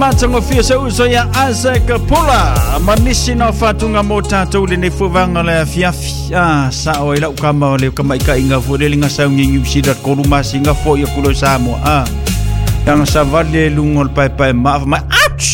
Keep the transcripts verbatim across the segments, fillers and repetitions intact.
Matagofie se uso ia Isaac Pula ma nisi na fatunga mo tatou lenei fuavaga le afiafi a sao ai lau kama o le kamaikaʻiga foi le liga saugi Niu Sila tolu masina foʻi aku loe Samoa a aga savali e luga o le paepae maa mai ouch.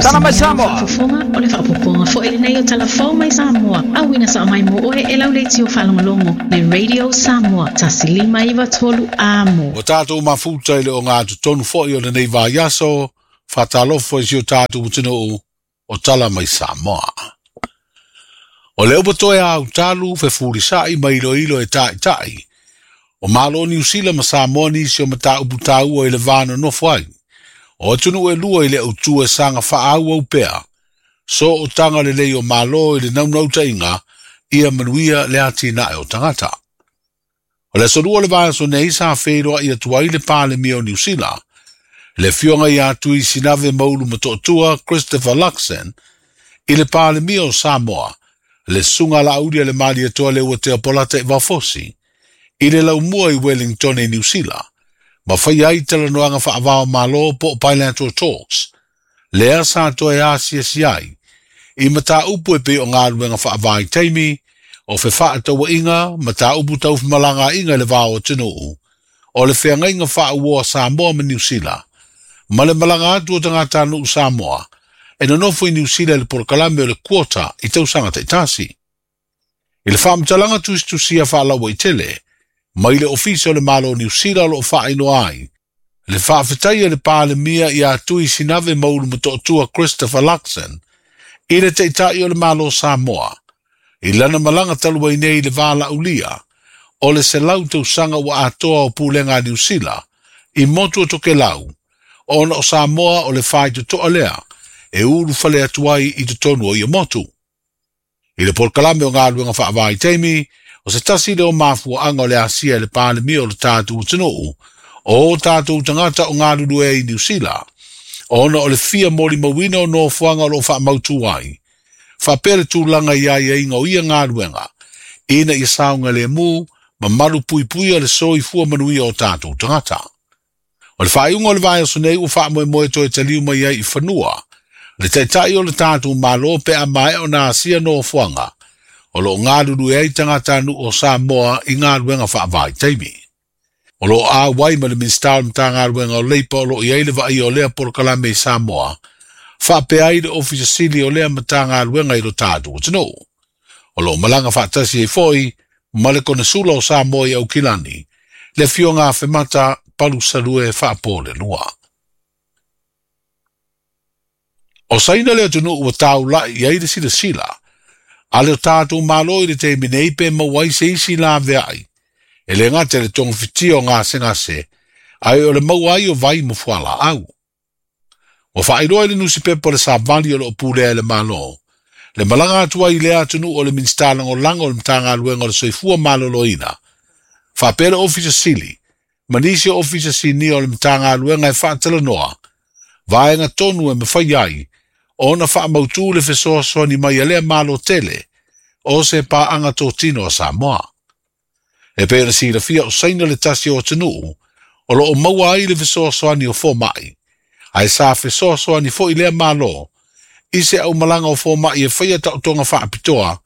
Tala mai Samoa. Fofoga o le faapopoga foi lenei o Talafou mai Samoa. Auina sao mai mo oe e lau leitio faalogologo le Radio Samoa tasi lima iva tolu amo. Ua tatou mafuta i le ogatotonu foi o lenei vaiaso, faatalofa i si o tatou atunuu o Tala mai Samoa. O le upu toe autalu fefulisaʻi ma iloilo e taʻitaʻi o Malo Niu Sila ma Samoa nisi o mataupu taua i le va nonofo ai. O atunuu e lua i le autu e saga faaauau pea, so o taga lelei o Malo i le naunautaiga ia manuia le atinae o tagata. O le aso lua o le vaiaso nei sa feiloai atu ai le Palemia o Niu Sila, le afioga ia Tui Sinave Maulu Motootua Christopher Luxon, i le Palemia o Samoa, le susuga Laauli a le Malietoa Leuatea Polata i Vafosi, i le laumua i Wellington i Niu Sila, ma faia ai talanoaga faavao Malo po o bilateral talks, lea sa toe asiasi ai, i mataupu e pei o galuega faavaitaimi, o fefaatauaiga, mataupu taufimalagaaiga i le va o atunuu, o le feagaiga faauoa Samoa ma Niu Sila, ma le malaga atu o tagatanuu Samoa, e nonofo i Niu Sila i le polokalame o le quota i tausaga taitasi. I le faamatalaga tusitusia faalauaitele, mai le ofisa o le Malo o Niu Sila o loo faainoa ai, le faafetai a le Palemia ia Tui Sinave Maulu Motootua Christopher Luxon, i le taʻitaʻi o le Malo Samoa, i lana malaga talu ai nei i le va laulia, o le selau tausaga ua atoa o pulega a Niu Sila, i motu o Tokelau, ona o Samoa o le faitotoa lea, e ulufale atu ai i totonu o ia motu. I le polokalame o galuega faavaitaimi, o se tasi lea o mafuaaga o le asia i le Palemia o le tatou atunuu, o tatou tagata o galulue ai i Niu Sila, ona o le fia molimauina o nofoaga o loo faamautu ai, faapea le tulaga i aiaiga o ia galuega, ina ia saogalemu ma malu puipuia le soifua manuia o tatou tagata. O le faaiuga o le vaiaso nei ua faamoemoe toe taliu mai ai i fanua, le taʻitaʻi o le tatou Malo pe a maea ona asia nofoaga, o loo galulue ai tagatanuu o Samoa i galuega faavaitaimi. O loo auai ma le Minisita o le Matagaluega o Leipa o loo i ai le vaaia o lea polokalame i Samoa, faapea ai le Ofisa Sili o lea Matagaluega i lo tatou atunuu. O loo malaga faatasi ai foi ma le Konesula o Samoa i Aukilani, le afioga Afemata Palusalue Faapolelua. O Saina le atunuu ua taulai i ai le silasila, a le o tatou Malo i le taimi nei pe maua ai se isi laveai, e le gata i le togafitia o gasegase, ae o le maua ai o vai ma fualaau. Ua faailoa i le nusipepa o le Savali o loo pulea e le Malo, le malaga atu ai i lea atunuu o le Minisita Lagolago o le Matagaluega o le Soifua Maloloina, faapea le Ofisa Sili, ma nisi o Ofisa Sinia o le Matagaluega e faatalanoa, vaega tonu e mafai ai, ona faamautu le fesoasoani mai a lea Malo tele, o se paaga totino a Samoa. E pei ona silafia o Saina le tasi o atunuu, o loo maua ai le fesoasoani o fomai, ae sa fesoasoani foi lea Malo, i se aumalaga o fomai e faia taotoga faapitoa,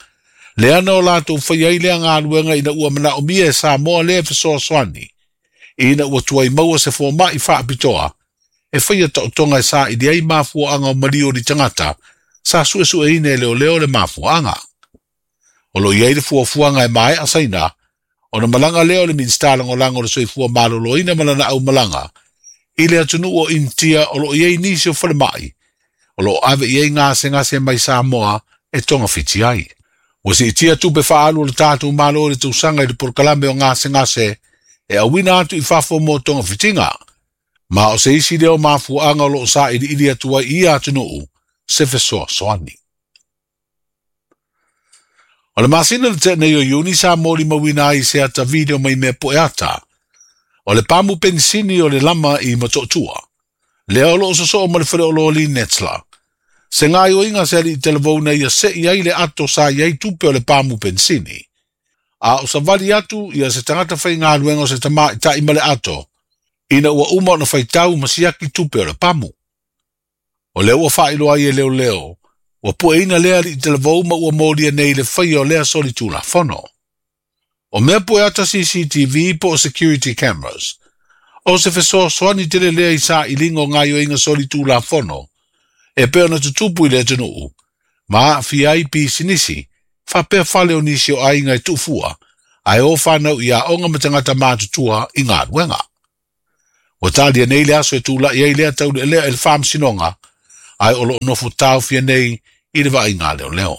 leana o latou faia ai lea galuega ina ua manaomia e Samoa lea fesoasoani, ina ua tuai maua se fomai faapitoa, e faia taotoga e saili ai mafuaaga o maliu o ni tagata, sa suesueina e leoleo le mafuaaga. O loo i ai le fuafuaga e maea Saina, ona malaga lea o le Minisita Lagolago o le Soifua Maloloina ma lana aumalaga, i le atunuu o Initia o loo i ai nisi o falemai, o loo ave i ai gasegase mai Samoa e togafiti ai. Ua siitia tupe faaalu o le tatou Malo i le tausaga i le polokalame o gasegase e auina atu i fafo mo togafitiga, ma o se isi lea o mafuaaga o loo sailiili atu ai i ia atunuu se fesoasoani. O le masina le tea nei o Iuni sa molimauina ai se ata video mai mea poe ata, o le pamu penisini o le lama i Motootua, lea o loo sosoo ma le faleoloa Netsla. Se gaoioiga se alii talavou ia sei ai le ato sa i ai tupe o le pamu penisini. A o savali atu ia se tagata faigaluega o se tamaʻitaʻi ma le ato, Ina ua uma ona faitau ma siaki tupe o le pamu. O lea ua faailoa ai e leoleo, ua pueina lea alii talavou ma ua molia nei le faia o lea solitulafono. O mea pue ata C C T V po o security cameras, o se fesoasoani tele lea i sailiga o gaoioiga solitulafono, e pei ona tutupu i le atunuu, ma aafia ai pisinisi, faapea fale o nisi o aiga e tuufua, ae o fanau i aoga ma tagata matutua i galuega. Ua talia nei le aso e tula'i ai lea taulealea e le faamasinoga, ae o loo nofo taofia nei i le vaaiga leoleo.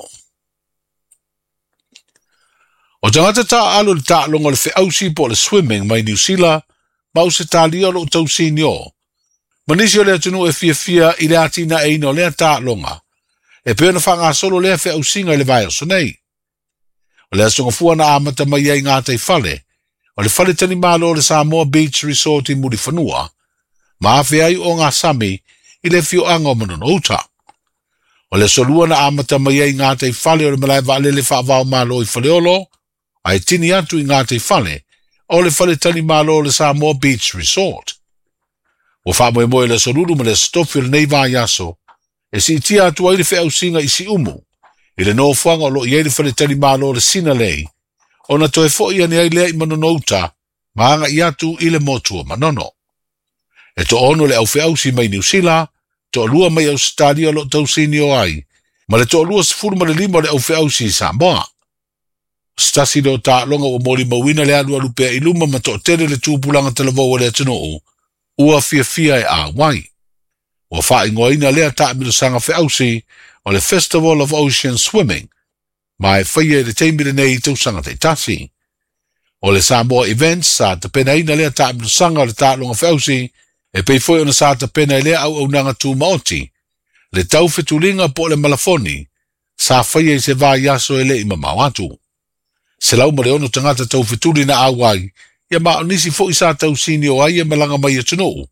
O tagata taaalo i le taaloga o le feausi po o le swimming mai Niu Sila ma Ausetalia o loo tausinio. Ma nisi o le atunuu e fiafia i le atinaeina o lea taaloga, e pei ona faagasolo lea feausiga i le vaiaso nei. O le aso gafua na amata mai ai gataifale, o le fale talimalo o le Samoa Beach Resort i Mulifanua, ma afe ai o ngā sami i le afioaga o Manono Uta. O le aso lua na amata mai ai gataifale o le malae vaalele faavaomalo i Faleolo, ae tini atu i gataifale o le fale talimalo o le Samoa Beach Resort. Ua faamoemoe le aso lulu ma le aso tofi o lenei vaiaso, e siitia atu ai le feausiga i Siumu, i le nofoaga o loo i ai le fale talimalo o le Sinalei, ona toe fo'i ane ai lea i Manono Uta, ma agai atu i le motu o Manono. E toaono le aufeausi mai Niu Sila, toalua mai Ausetalia o loo tausinio ai, ma le toalua sefulu ma le lima o le aufeausi i Samoa. O se tasi lea o taaloga ua molimauina le alualu pea i luma ma toatele le tupulaga talavou o le atunuu, ua fiafia e auai. Ua faaigoaina lea taamilosaga feausi o le Festival of Ocean Swimming, ma e faia i le taimi lenei i tausaga taitasi. O le Samoa Events sa tapenaina lea taamilosaga o le taaloga feausi, e pei foi ona sa tapena i lea auaunaga tumaoti, le taufetuliga po o le malafoni, sa faia i se vaiaso e le'i mamao atu. Selau ma le ono tagata taufetuli na auai, ia ma o nisi fo'i sa tausini o ai e malaga mai atunuu,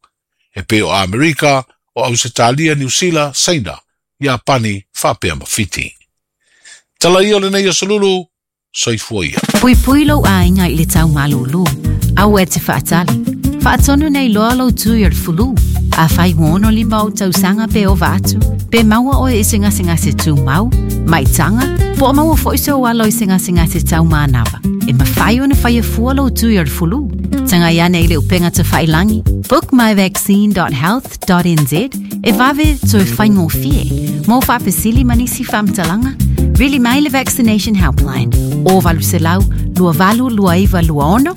e pei o Amerika, o Ausetalia, Niu Sila, Saina, Iapani, faapea ma Fiti. Tala ia o lenei aso lulu, soifua ia. Puipui lou aiga i le taumalūlū, aua e te faatali. Faatonu nei loa lou tui o le fulu. Afai ua ono lima o tausaga pe ova atu, pe maua oe i se gasegase tumau, maitaga, po o maua fo'i sou alo i se gasegase taumanava. E mafai ona faia fua lou tui o le fulu. Tagai ane i le upega tafailangi, book my vaccine dot health dot n z e vave toe faigofie. Mo faafesili ma nisi faamatalaga, vili mai le Vaccination Helpline o valu selau lua valu lua iva lua ono,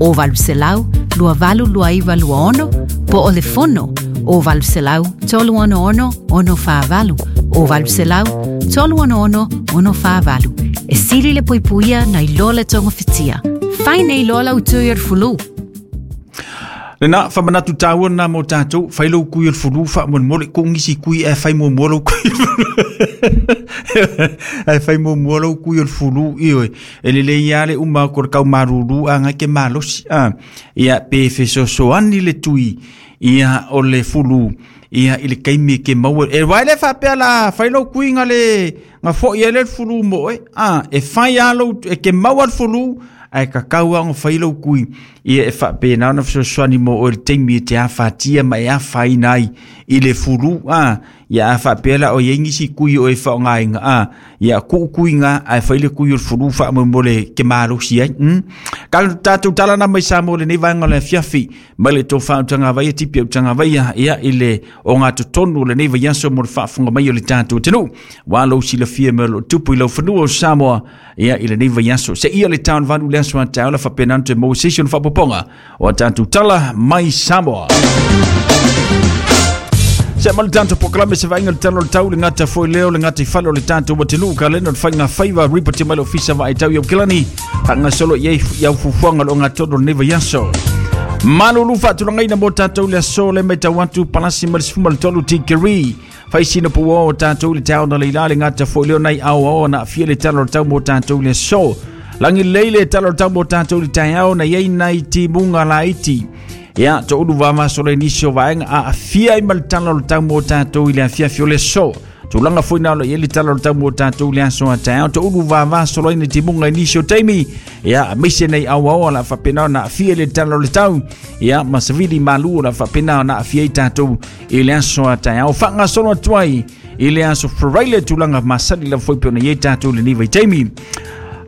o valu selau lua valu lua iva lua ono, po o le fono o valu selau tolu ono ono ono whaavalu, o valu selau tolu ono ono ono whaavalu. E sili le puipuia na iloa le tonga whitia. Fai nei loa lau tui o le fulu. Lena whamanatu tāua nā mō tātou, whai lau kui o le fulu, wha mon ko ngisi kui e whai mō mō lau kui. E whai mō mō lau kui o le fulu, ioi. E lele ia le uma ko le kau maruru a ngai ke malosi. A, ia pe fesosoani le tui, ia o le fulu, ia i le kaimi ke maua. E wai le whapea la, whai lau kui ngā le, ngā fo ia le fulu mo e. A, e whai a lau, e ke maua le fulu, ai ka kaua ngo whailau kui ia e whapena ona fesoasoani mo o le taimi e te afatia ma e afaina ai i le fulu a ia a whapea o ia ngisi kui o e whaongainga a ia ku kui ngā ai whaile kui o le fulu wha mo le ke malosi ai mm. Ka tātou talana mai sa mo le nei vaenga le fiafi mai le tō whautanga vaia tipi autanga vaia ia i le o ngā totonu le nei vaiaso mo le whaafunga mai o le tātou tenu wa lau silafia me lo tupu i lau whanua o Samoa ia i le nei vaiaso se ia le taun vanu le aso a taula whapenante mo session whapoponga o tātou tala mai Samoa. Se malu tātou pokalame se vainga le talo le tau le ngata foi leo le ngata i falo le tātou watenu ka leno le whainga whaiva ripoti mai le ofisa wa ai tau iau kilani hanga solo iei iau fufuanga lo ngā todo le nei vaiaso. Malulu whaatulangaina mō tātou le aso le mai tau atu palasi ma le sefuma le tolu tikeri. Whaisina pua o tātou le tau na leila le ngata foi leo nei au au na fia le talo le tau mō tātou le aso. Langi leile talo le tau mō tātou le taiao na iei nei timunga laiti. Ia, tō ulu vama so le nisio vaenga a afia i ma le talo le tau mō tātou i le afia fio le aso. Tulaga foi na o i le tala o le tau mo tatou le aso a taeao to ulu vava solo ina timuga i nisi o taimi ia aemaise nei auaoa la faapena ona aafia le tala o le tau ia ma savili malu o la faapena ona aafia ai tatou i le aso a taeao faagasolo atu ai i le aso Friday tulaga masani lava foi pe ona i ai tatou lenei vaitaimi.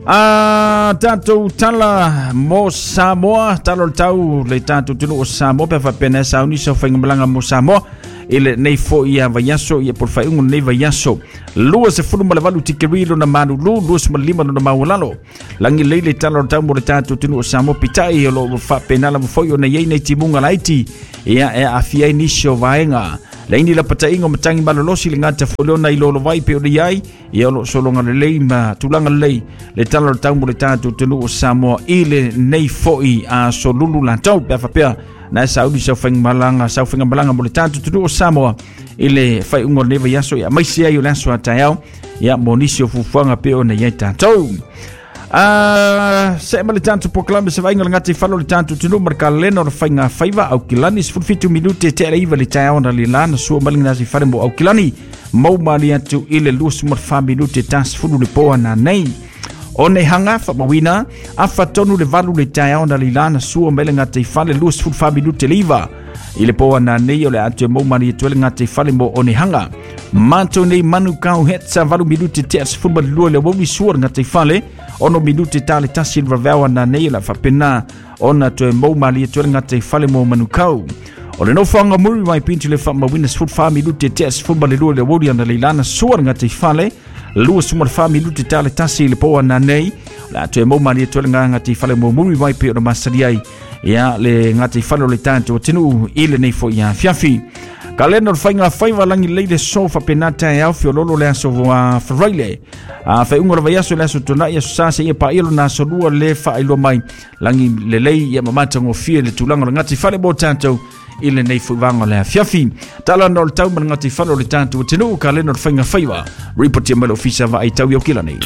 Ah, tatou tala mo Samoa, tala o le tau le tatou atunuu o Samoa pe faapena sauni sa faigamalaga mo Samoa i lenei foi ia vaiaso ia po o le faaiuga o lenei vaiaso. Lua sefulu ma le valu tikeri lona malulu, lua sefulu ma le lima lona maualalo. Lagi lelei le tala o le tau mo le tatou atunuu o Samoa peitai o loo faapena lava foi ona i ai nei timuga laiti ia e aafia ai nisi o vaega. Laini la pataiga o matagi malolosi le gata foi lea ona i lolovai pe ona i ai ia o loo sologa lelei ma tulaga lelei le tala o le tau mo le tatou atunuu o Samoa i lenei foi aso lulu latou pe a faapea na e sauni sau faigamalaga sau faigamalaga mo le tatou atunuu o Samoa i le faaiuga o lenei vaiaso ia aemaise ai o le aso a taeao ia mo nisi o fuafuaga pe ona i ai tatou. Ah, se ma le tatou polokalame se vaaiga o le gataifale o le tatou atunuu ma le kalena o le faiga faiva Aukilani sefulu fitu minute tea le iva le taeao na le la na sua mai le gasifale mo Aukilani mau mali atu i le luasefulu ma le fa minute ta sefulu le po ananei. O nei hanga faamauina afa tonu le valu le taeao na le la na sua mai le gataifale luasefulu fa minute le iva i le po ananei o le atu e mau mali atu ai le gataifale mo Onehanga. Matou nei Manukau hetsa valu minute tea sefulu ma le lua le aoauli sua le gataifale ono minute ta le tasi le vaveao ananei o le a faapena ona toe mau mali atu ai le gataifale mo Manukau. O le nofoaga Muri mai pintu le faamauina sefulu fa minute tea sefulu ma le lua le aoauli analeila sua le gataifale lua sefulu ma le fa minute ta le tasi le po ananei o le a toe mau mali atu ai le gataifale mo Muri mai pe ona masali ai ia le gataifale o le tatou atunuu i lenei foi afiafi. Kalena o le faiga faiva lagi lelei le so faapena taeao feoloolo le aso Faraile. A faaiuga o le vaiaso le aso Tona'i aso Sa seia paia lona aso lua le faailoa mai lagi lelei ia ma matagofie le tulaga o le gataifale mo tatou i lenei foi vaega o le afiafi. Tala na o le tau ma le gataifale o le tatou atunuu kalena o le faiga faiva. Ripotia mai le ofisa vaai tau i Aukilani.